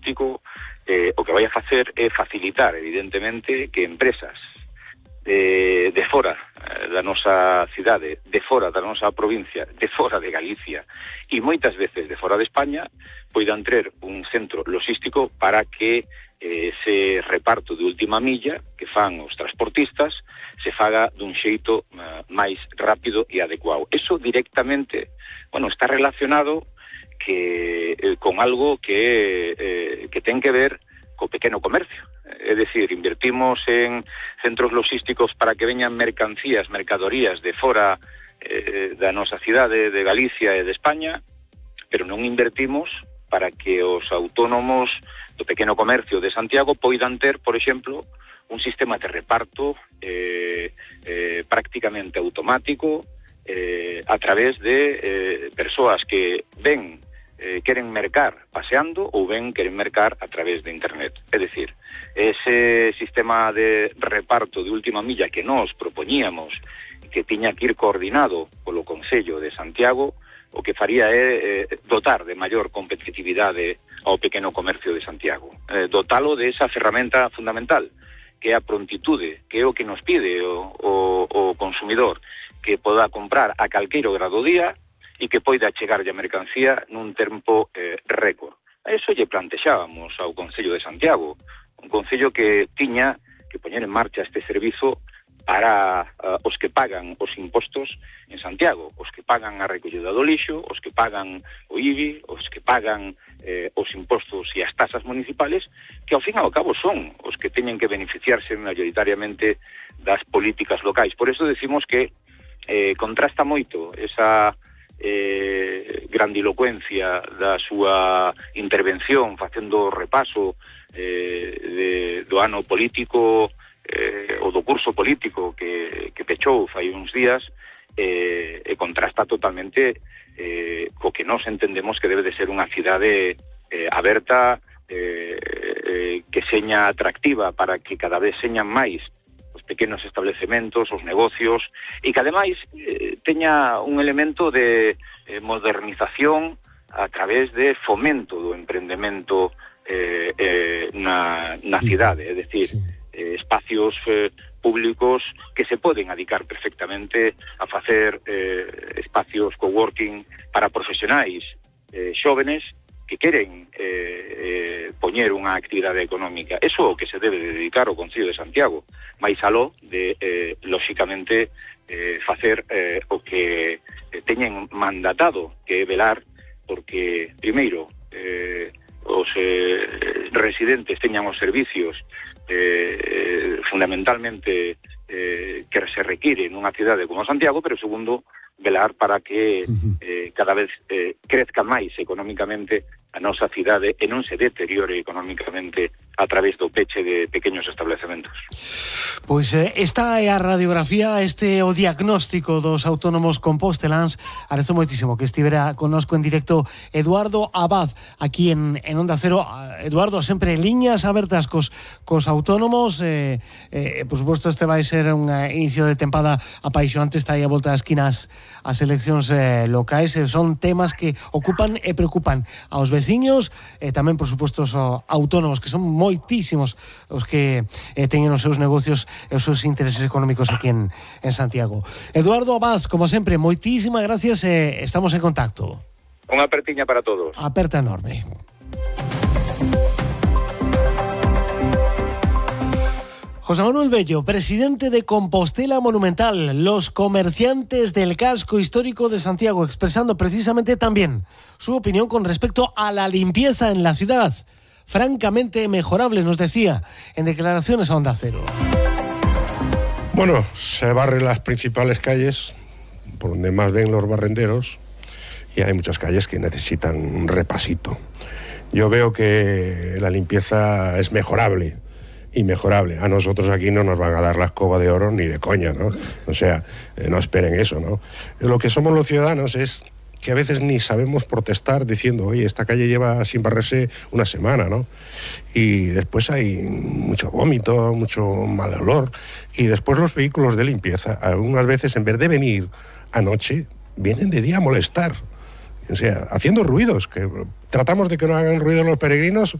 logístico o que vai a facer é facilitar, evidentemente, que empresas de fora da nosa cidade, de fora da nosa provincia, de fora de Galicia e moitas veces de fora de España poidan ter un centro logístico para que ese reparto de última milla que fan os transportistas se faga dun xeito máis rápido e adecuado. Eso directamente, está relacionado con algo que ten que ver co pequeno comercio. É dicir, invertimos en centros logísticos para que veñan mercadorías de fora da nosa cidade, de Galicia e de España, pero non invertimos para que os autónomos do pequeno comercio de Santiago poidan ter, por exemplo, un sistema de reparto prácticamente automático a través de persoas que queren mercar paseando ou queren mercar a través de internet. É dicir, ese sistema de reparto de última milla que nós propoñíamos que tiña que ir coordinado polo Concello de Santiago, o que faría é dotar de maior competitividade ao pequeno comercio de Santiago, dotalo de esa ferramenta fundamental que é a prontitude, que é o que nos pide o consumidor, que poda comprar a calqueiro grado día e que poida chegarlle a mercancía nun tempo récord. A iso lle plantexábamos ao Concello de Santiago, un concello que tiña que poñer en marcha este servizo para os que pagan os impostos en Santiago, os que pagan a recollida do lixo, os que pagan o IBI, os que pagan os impostos e as tasas municipales, que ao fin e ao cabo son os que teñen que beneficiarse mayoritariamente das políticas locais. Por eso decimos que contrasta moito esa grandilocuencia da súa intervención facendo repaso do ano político ou do curso político que pechou fai uns días e contrasta totalmente co que nós entendemos que debe de ser unha cidade aberta, que seña atractiva para que cada vez señan máis pequenos establecementos, os negocios, e que ademais teña un elemento de modernización a través de fomento do emprendemento na cidade, é dicir, espacios públicos que se poden adicar perfectamente a facer espacios coworking para profesionais xóvenes que queren poñer unha actividade económica. Eso é o que se debe dedicar ao Concello de Santiago, máis aló de, lóxicamente, facer o que teñen mandatado, que é velar porque, primeiro, os residentes teñan os servicios fundamentalmente que se requiren nunha cidade como Santiago, pero segundo, velar para que cada vez crezca máis económicamente a nosa cidade e non se deteriore económicamente a través do peche de pequenos establecementos. Pois esta é a radiografía, este é o diagnóstico dos autónomos composteláns. Agradezo moitísimo que estivera connosco en directo Eduardo Abad aquí en Onda Cero. Eduardo, sempre liñas abertas cos autónomos, por suposto este vai ser un inicio de tempada apaixonante, está aí a volta das esquinas as eleccións locais, son temas que ocupan e preocupan aos veciños e tamén, por suposto, os autónomos, que son moitísimos os que teñen os seus negocios e os seus intereses económicos aquí en Santiago. Eduardo Abad, como sempre, moitísimas gracias e estamos en contacto. Unha apertiña para todos. Aperta enorme. José Manuel Bello, presidente de Compostela Monumental, los comerciantes del casco histórico de Santiago, expresando precisamente también su opinión con respecto a la limpieza en la ciudad. Francamente mejorable, nos decía en declaraciones a Onda Cero. Bueno, se barren las principales calles, por donde más ven los barrenderos, y hay muchas calles que necesitan un repasito. Yo veo que la limpieza es mejorable. Inmejorable. A nosotros aquí no nos van a dar la escoba de oro ni de coña, ¿no? O sea, no esperen eso, ¿no? Lo que somos los ciudadanos es que a veces ni sabemos protestar diciendo, oye, esta calle lleva sin barrerse una semana, ¿no? Y después hay mucho vómito, mucho mal olor, y después los vehículos de limpieza, algunas veces en vez de venir anoche, vienen de día a molestar. O sea, haciendo ruidos, que tratamos de que no hagan ruido los peregrinos